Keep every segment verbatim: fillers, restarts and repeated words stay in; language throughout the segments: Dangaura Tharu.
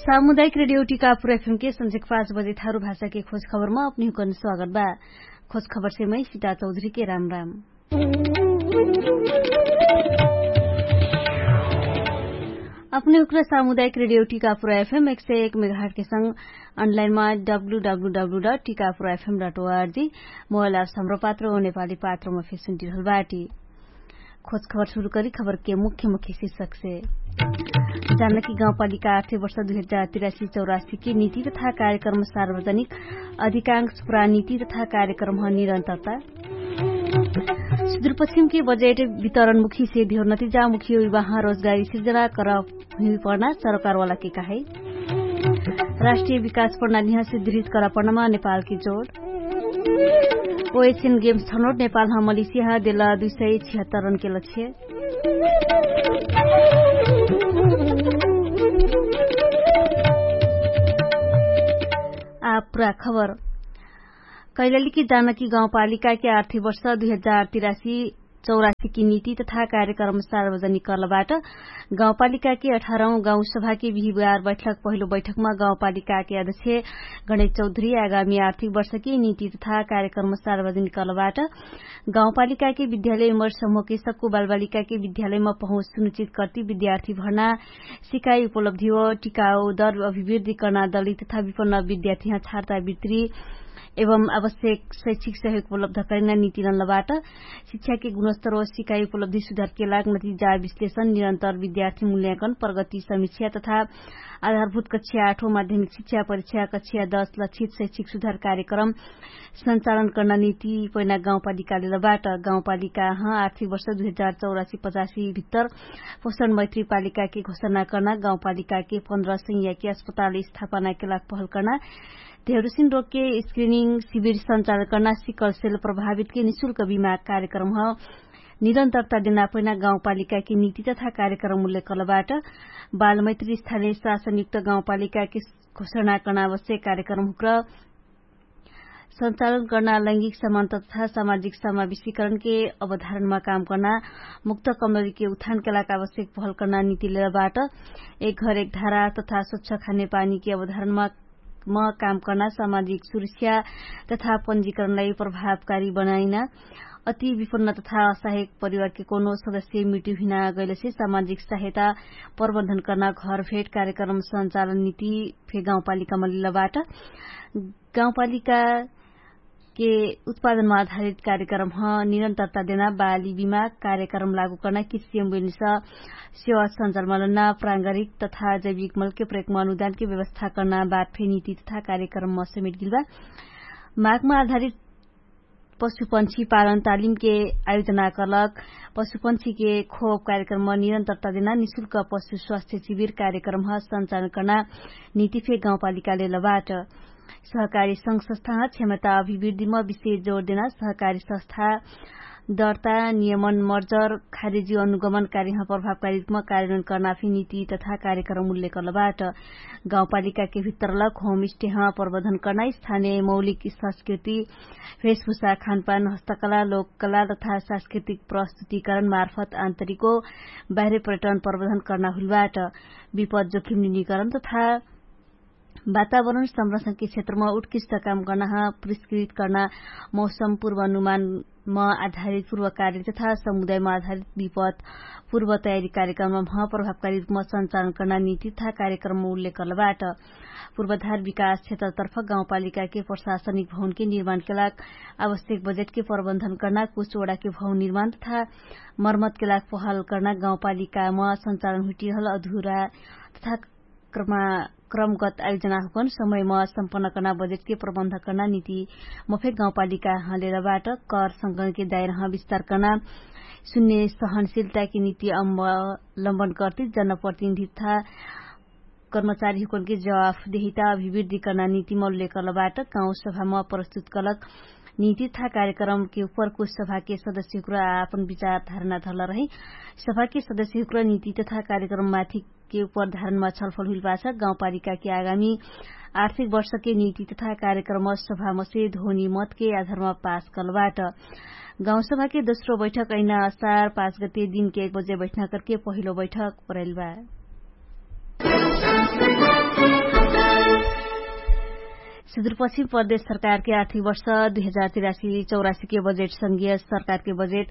सामुदायिक रेडियो टिकापुर एफएम के संझेक पाँच बजे थारु भाषा के खोज खबरमा अपनिहुकन स्वागत बा। खोज खबर से मै सिता चौधरी के राम राम। अपने उक्र सामुदायिक रेडियो टिकापुर एफएम एक सय एक मेघाट के संग अनलाइनमा W W W dot Tikapur F M dot O R G mobile apps Hamro पात्र ओ नेपाली पात्रमा फेसुन टिरहल बाटी। खोज खबर सुरु करी खबर के मुख्य मुख्य शीर्षक से। जानकी गाउँपालिका आर्थिक वर्ष दुई हजार तिरासी चौरासी के नीति तथा कार्यक्रम सार्वजनिक अधिकांश पुरा नीति तथा कार्यक्रम निरन्तरता। सुदूरपश्चिम के बजेट वितरणमुखी से धियो नतिजामुखी विवाह रोजगारी सिर्जना कर हुइपर्ना सरकारवाला के कहाई। राष्ट्रिय विकास प्रणाली हँ सुदृढ करा पर्नामा नेपाल के जोड। ओएसियन गेम्स छनोट नेपाल हँ मलिसिया हँ देला दुई सय छिहत्तर रन के लक्ष्य। आ पुरा खबर। कैलाली कि जानकी गाउँपालिका के आर्थिक वर्ष दुई हजार तिरासी चौरासी कि नीति तथा कार्यक्रम सार्वजनिक कर्लबाट गाउँपालिका के अठारौँ गाउँसभा के बिहिबार बैठक पहिलो बैठकमा गाउँपालिका के अध्यक्ष गणेश चौधरी आगामी आर्थिक वर्ष के नीति तथा कार्यक्रम सार्वजनिक कर्लबाट गाउँपालिका के विद्यालय मर समूह के सक्कु बालबालिका के विद्यालयमा पहुँच सुनिश्चित कर्ति विद्यार्थी भर्ना सिकाइ उपलब्धि हो टिकाउ दर अभिवृद्धि कर्ना दलित तथा विपन्न विद्यार्थी हँ छार्ता वित्री एवं आवश्यक शैक्षिक सहयोग उपलब्ध करिना नितिनलबाट शिक्षा के गुणस्तर ओ सिकाइ उपलब्धि सुधार के लाग नतिजा विश्लेषण निरन्तर विद्यार्थी मूल्याङ्कन प्रगति समीक्षा तथा आधारभूत कक्षा आठो माध्यमिक शिक्षा परीक्षा कक्षा दस लक्षित शैक्षिक सुधार कार्यक्रम सञ्चालन कर्ना निति पैना गाउँपालिकालेलबाट गाउँपालिका हँ आर्थिक वर्ष दुई हजार चौरासी पचासी भित्तर पोषण मैत्री पालिका के घोषणा कर्ना गाउँपालिका के पन्ध्र सैया के अस्पताल स्थापना के लाग पहल कर्ना धेरुसिन रोग के स्क्रिनिङ शिविर सञ्चालन कर्ना सिकल सेल प्रभावित के निशुल्क बिमा कार्यक्रम हँ निरन्तरता देना पैना गाउँपालिका के निति तथा कार्यक्रम उल्लेख कर्लबाट बालमैत्री स्थानीय शासनयुक्त गाउँपालिका के घोषणा कर्ना आवश्यक कार्यक्रम हुक्र सञ्चालन कर्ना लैङ्गिक समानता तथा सामाजिक समावेशीकरण के अवधारणमा काम कर्ना मुक्त कमलरी के उत्थान के लाग आवश्यक पहल कर्ना निति लेलबाट एक घर एक धारा तथा स्वच्छ खाने पानी के अवधारणमा म काम कर्ना सामाजिक सुरक्षा तथा पञ्जीकरणलाई प्रभावकारी बनाइना अति विपन्न तथा असहायक परिवार के कोनो सदस्य मृत्यु हिना गैलसे सामाजिक सहायता प्रबन्धन कर्ना घर भेट कार्यक्रम सञ्चालन निति फे गाउँपालिका मलिलबाट गाउँपालिका के उत्पादनमा आधारित कार्यक्रम हँ निरन्तरता देना बाली बिमा कार्यक्रम लागू कर्ना किसियम बेनिस सेवा सञ्चालमा लन्ना प्राङ्गारिक तथा जैविक मलके प्रयोगमा अनुदानके व्यवस्था कर्ना बात फे निति तथा कार्यक्रममा समेट गिल्बा मागमा आधारित पशुपन्छी पालन तालिमके आयोजना कलक पशुपन्छीके खोप कार्यक्रममा निरन्तरता देना निशुल्क पशु स्वास्थ्य शिविर कार्यक्रम हँ सञ्चालन कर्ना निति फे गाउँपालिकाले लबाट सहकारी संघ संस्था हँ क्षमता अभिवृद्धिमा विशेष जोड देना सहकारी संस्था दर्ता नियमन मर्जर खारेजी अनुगमन कार्यमा प्रभावकारी रूपमा कार्यन्वयन कर्नाफी निति तथा कार्यक्रम उल्लेख कर्लबाट गाउँपालिकाके भित्रलक होम स्टेह प्रबन्धन कर्ना स्थानीय मौलिक संस्कृति भेषभूषा खानपान हस्तकला लोककला तथा सांस्कृतिक प्रस्तुतिकरण मार्फत आन्तरिको बाहिर पर्यटन प्रबन्धन कर्ना हुलबाट विपद जोखिम निनिकरण तथा वातावरण संरक्षणके क्षेत्रमा उत्कृष्ट काम कर्ना ह पुरस्कृत कर्ना मौसम पूर्वानुमानमा आधारित पूर्वकारिक तथा समुदायमा आधारित विपद पूर्वतयारी कार्यक्रममा ह प्रभावकारी रूपमा सञ्चालन कर्ना निति तथा कार्यक्रममा उल्लेख कर्लबाट पूर्वाधार विकास क्षेत्रतर्फ गाउँपालिकाके प्रशासनिक भवनके निर्माणके लाग आवश्यक बजेटके प्रबन्धन कर्ना कुछ वडाके भवन निर्माण तथा मर्मतके लाग पहल कर्ना गाउँपालिकामा सञ्चालन हुइटिरहल अधुरा तथा क्रमगत आयोजना हुकन समयमा सम्पन्न कर्ना बजेटके प्रबन्ध कर्ना निति मफे गाउँपालिका हलेरबाट कर संकलनके दायरह विस्तार कर्ना सुन्ने सहनशिलताके निति अवलम्बन कर्ति जनप्रतिनिधिता कर्मचारी हुकनके जवाफ देहिता अभिवृद्धि कर्ना निति मौल्य कर्लबाट गाउँसभामा प्रस्तुत कलक निति तथा कार्यक्रमके उपर कुछ सभाके सदस्यहुक्र आपन विचार धारणा धर्ल रहे सभाके सदस्यहुक्र निति तथा कार्यक्रम माथिके उपर धारणमा छलफल हुइलपाछ गाउँपालिकाके आगामी आर्थिक वर्षके निति तथा कार्यक्रम सभामसे ध्वनि मतके आधारमा पास कलबाट गाउँसभाके दोस्रो बैठक अहिना असार पाँच गते दिनके एक बजे बैठना करके पहिलो बैठक परेलबा। सुदुरपश्चिम प्रदेश सरकारके आर्थिक वर्ष दुई हजार तिरासी चौरासीके बजेट संघीय सरकारके बजेट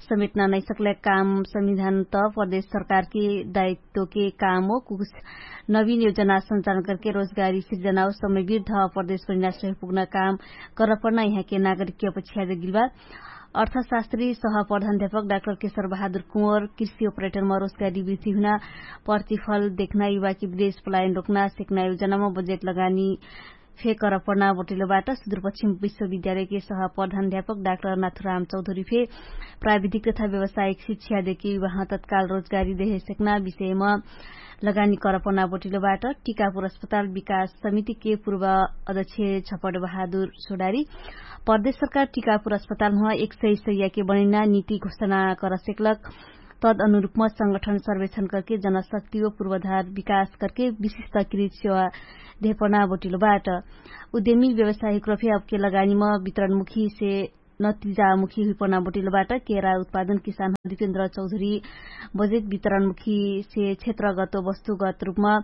समेटना नैसक्लक काम संविधान त प्रदेश सरकारके दायित्वके काम हो। कुछ नवीन योजना संचालन करके रोजगारी सिर्जनाओ समय विरुद्ध प्रदेश परिणाश्रय पुग्ना काम करपर्ना यहाँके नागरिकके अपेक्षा देगिलबा। अर्थशास्त्री सह प्रधानध्यापक डाक्टर केशर बहादुर कुँवर कृषि अप्रेटरमा रोजगारी वृद्धि हुना प्रतिफल देखना युवाकी विदेश पलायन रोक्ना सेक्ना योजनामा बजेट लगानी फे करपर्ना बोटिलोबाट सुदुरपश्चिम विश्वविद्यालयके सह प्रधानध्यापक डाक्टर नाथुराम चौधरी फे प्राविधिक तथा व्यवसायिक शिक्षा देके युवाह तत्काल रोजगारी देहे सेक्ना विषयमा लगानी करपर्ना बोटिलोबाट। टिकापुर अस्पताल विकास समितिके पूर्व अध्यक्ष छपट बहादुर सोडारी प्रदेश सरकार टिकापुर अस्पतालमा एक सय सयके बनैना निति घोषणा करसेक्लक तद अनुरुपमा संगठन सर्वेक्षण करके जनशक्ति व पूर्वाधार विकास करके विशिष्ट कृत सेवा धेपना बोटिलोबाट। उद्यमी व्यवसायिक रफे अबके लगानीमा वितरणमुखीसे नतिजामुखी हुइपना बोटिलोबाट। केरा उत्पादन किसान दिपेन्द्र चौधरी बजेट वितरणमुखीसे क्षेत्रगत वस्तुगत रुपमा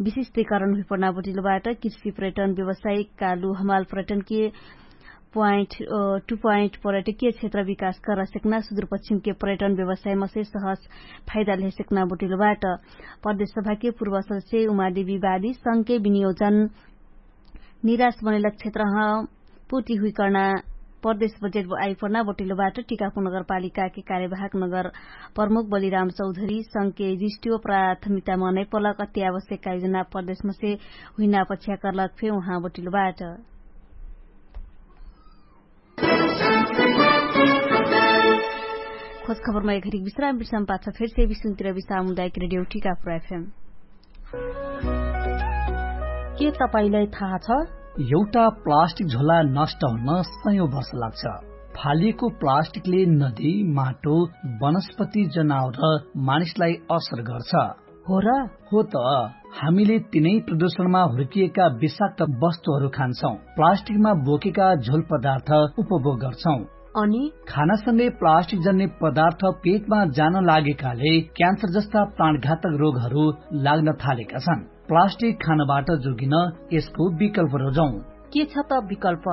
विशिष्टिकरण हुइपना बोटिलोबाट। कृषि पर्यटन व्यवसायिक कालु हमाल पर्यटनके पोइन्ट टु पोइन्ट पर्यटकीय क्षेत्र विकास करसेक्ना सुदुरपश्चिमके पर्यटन व्यवसायमसे सहज फाइदा लेहेसेक्ना बोटिलोबाट। प्रदेश सभाके पूर्व सदस्य उमादेवी बाली संघके विनियोजन निराश बनेलक क्षेत्रह पूर्ति हुइकर्ना प्रदेश बजेट आइपर्ना बोटिलोबाट। टिकापुर नगरपालिकाके कार्यवाहक नगर प्रमुख बलिराम चौधरी संघके जिस्टियो प्राथमिकतामा नैपलक अत्यावश्यक आयोजना प्रदेशमसे हुइना पछ्याकर्लक फे उहाँ बोटिलोबाट। खोज खबरमा एघरिक विश्राम विश्राम पाछ फेरसे विश्रामतिर विश्राम हुँदाइक रेडियो टिकापुर एफएम। के तपाईंलाई थाहा छ? एउटा प्लास्टिक झोला नष्ट हुन सयौं वर्ष लाग्छ। फालिएको प्लास्टिकले नदी, माटो, वनस्पति, जनावर र मानिसलाई असर गर्छ। हो र? हो त। हामीले तिनै प्रदूषणमा हुर्किएका विषाक्त वस्तुहरू खान्छौं, प्लास्टिकमा बोकेका झोल पदार्थ उपभोग गर्छौं। अनि खानासँगै प्लास्टिक जन्ने पदार्थ पेटमा जान लागेकाले क्यान्सर जस्ता प्राणघातक रोगहरू लाग्न थालेका छन्। प्लास्टिक खानबाट जोगिन यसको विकल्प रोजौं। के छ त विकल्प?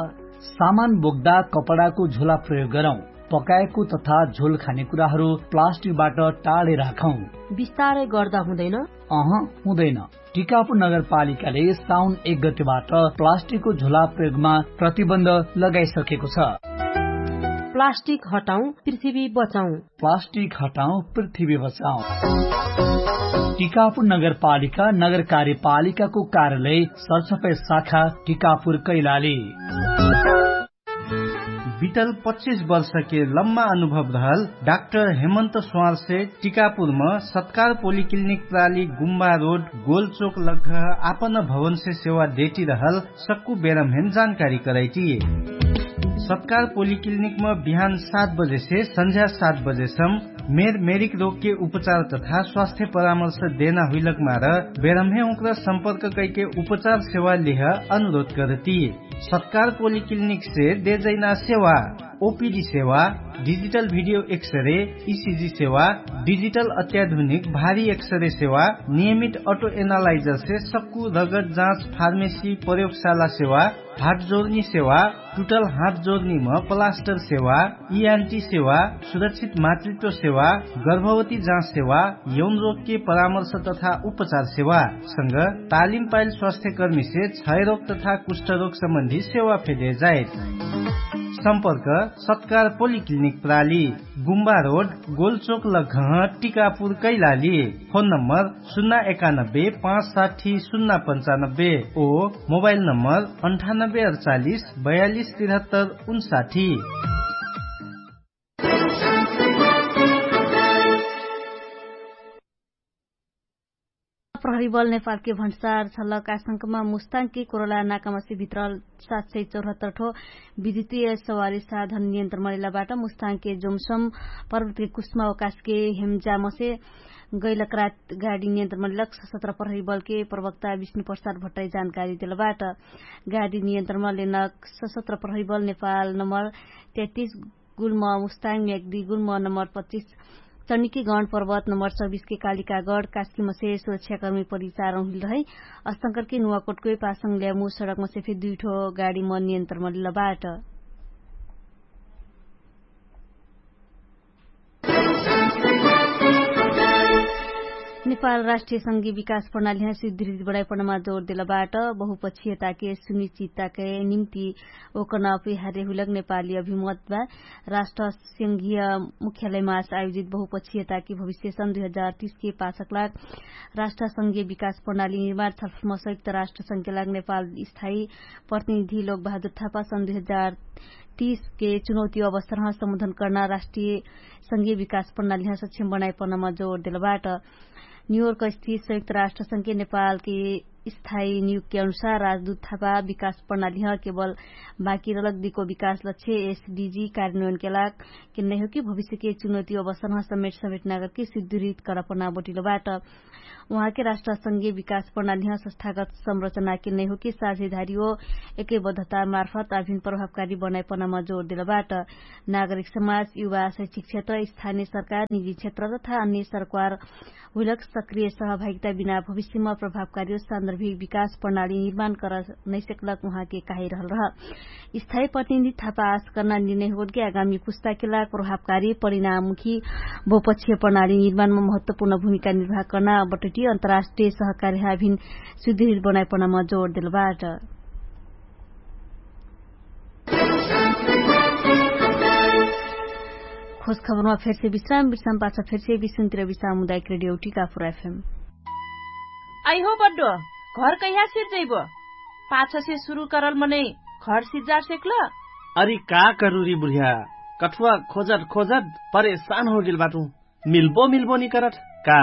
सामान बोक्दा कपडाको झोला प्रयोग गरौं। पकाएको तथा झोल खाने कुराहरू प्लास्टिकबाट टाढे राखौं। बिस्तारै गर्दा हुँदैन? अह, हुँदैन। टिकापुर नगरपालिकाले साउन एक गतेबाट प्लास्टिकको झोला प्रयोगमा प्रतिबन्ध लगाइसकेको छ। प्लास्टिक हटाउँ, पृथ्वी बचाउँ। प्लास्टिक हटाउँ, पृथ्वी बचाउँ। टिकापुर नगरपालिका नगर कार्यपालिकाको कार्यालय सरसफाइ शाखा टिकापुर कैलाली। बितल पच्चिस वर्षके लम्मा अनुभव रहल डाक्टर हेमन्त स्वारसे टिकापुरम सत्कार पोलिक्लिनिक प्राली गुम्बा रोड गोलचोक लग्घ आपन भवनसे सेवा देटी रहल सक्कु बेरम्हेन जानकारी करैटी। सत्कार पोलिक्लिनिकम बिहान सात बजेसे सन्झ्या सात बजेसम मेर मेरिक रोगके उपचार तथा स्वास्थ्य परामर्श देना हुइलक मार बेरम्हे उक्र सम्पर्क कैके उपचार सेवा लिह अनुरोध करती। सत्कार पोलिक्लिनिकसे देजैना सेवा ओपिडी सेवा, डिजिटल भिडियो एक्सरे, इसिजी सेवा, डिजिटल अत्याधुनिक भारी एक्सरे सेवा, नियमित अटो एनालाइजरसे सक्कु रगत जाँच फार्मेसी प्रयोगशाला सेवा, हात जोर्नी सेवा, टुटल हात जोर्नीम प्लास्टर सेवा, इआन्टी सेवा, सुरक्षित मातृत्व सेवा, गर्भवती जाँच सेवा, यौन रोगके परामर्श तथा उपचार सेवा संग तालिम पाइल स्वास्थ्यकर्मीसे क्षयरोग तथा कुष्ठरोग सम्बन्धी सेवा फेदे जाइत। सम्पर्क सत्कार पोलिक्लिनिक प्राली, गुम्बा रोड, गोलचोक लग्घह, टिकापुर कैलाली। फोन नम्बर सुन्ना एकानब्बे पाँच साठी सुन्ना पन्चानब्बे ओ मोबाइल नम्बर अन्ठानब्बे अडचालिस बयालिस तिरहत्तर उन्साठी। प्रहरी बल नेपालके भन्सार छलक आशंकमा मुस्ताङके कोरोला नाकामसे भित्र सात सय चौहत्तर ठो विद्युतीय सवारी साधन नियन्त्रण मरेलाबाट मुस्ताङके जोमसम पर्वतके कुष्मा अवकाशके हेमजामसे गैलक रात गाडी नियन्त्रण मरेलक सशस्त्र प्रहरी बलके प्रवक्ता विष्णु प्रसाद भट्टाई जानकारी देलबाट। गाडी नियन्त्रण मरेलक सशस्त्र प्रहरी बल नेपाल नम्बर तेत्तिस गुल्म मुस्ताङ म्याग्दी गुल्म नम्बर पच्चिस चनिके गण पर्वत नम्बर चौबिसके कालिकागढ कास्कीमसे सुरक्षाकर्मी परिचार हुइल रहै। अस्तंकरके नुवाकोटके पासङ ल्यामु सडकमसे फे दुइठो गाडीम नियन्त्रणम लिलबाट। नेपाल राष्ट्रिय संघीय विकास प्रणाली ह्या सुदृढ बनाइपनमा जोर देलबाट। बहुपक्षीयताके सुनिश्चितताके निम्ति ओकन अपिहार्य हुइलक नेपाली अभिमत बा। राष्ट्र संघीय मुख्यालयमा आयोजित बहुपक्षीयताके भविष्य सन् दुई हजार तीसके पाछक लाग राष्ट्र संघीय विकास प्रणाली निर्माण छलफलमा संयुक्त राष्ट्र संघके लाग नेपाल स्थायी प्रतिनिधि लोकबहादुर थापा सन् दुई हजार तीसके चुनौती अवसरह सम्बोधन कर्ना राष्ट्रिय संघीय विकास प्रणालीह सक्षम बनाइपनमा जोर देलबाट। न्युयोर्क स्थित संयुक्त राष्ट्र संघके नेपालके स्थायी नियुक्ति अनुसार राजदूत थापा विकास प्रणालीह केवल बाकी रलक दिको विकास लक्ष्य एसडीजी कार्यान्वयनके लाग केन्नै हो कि भविष्यके चुनौती अवसरह समेट समेट नागरके सुदृढ करपना बटिलबाट। उहाँके राष्ट्र संघीय विकास प्रणालीह संस्थागत संरचनाके नैहोके साझेधारी हो एकैबद्धता मार्फत अभिन प्रभावकारी बनाइपनामा जोर देलबाट। नागरिक समाज युवा शैक्षिक क्षेत्र स्थानीय सरकार निजी क्षेत्र तथा अन्य सरकार हुइलक सक्रिय सहभागिता बिना भविष्यमा प्रभावकारी हो सान्दर्भिक विकास प्रणाली निर्माण कर नैसकलक उहाँके काहिरहल रह। स्थायी प्रतिनिधि थापा आश कर्ना निर्णय होतके आगामी पुस्ताके लाग प्रभावकारी परिणाममुखी बहुपक्षीय प्रणाली निर्माणमा महत्वपूर्ण भूमिका निर्वाह कर्ना बटटी अन्तर्राष्ट्रिय सहकार्य हाभिन सुदृढ बनाइपनामा जोर देलबाट। खोज खबरमा फेरसे विश्राम विश्राम पाछ फेरसे विश्राम तिर विश्राम हुँदाइक रेडियो टिका फुरा एफएम। आइहो बड्डो, घर कैहा सिर्जैबो? पाछसे सुरु करल मनै घर सिर्जा सेक्ल? अरि का करुरी बुढिया, कठुवा खोजट खोजट परेशान होगेल बाटु। मिल्बो मिल्बो निकरट का?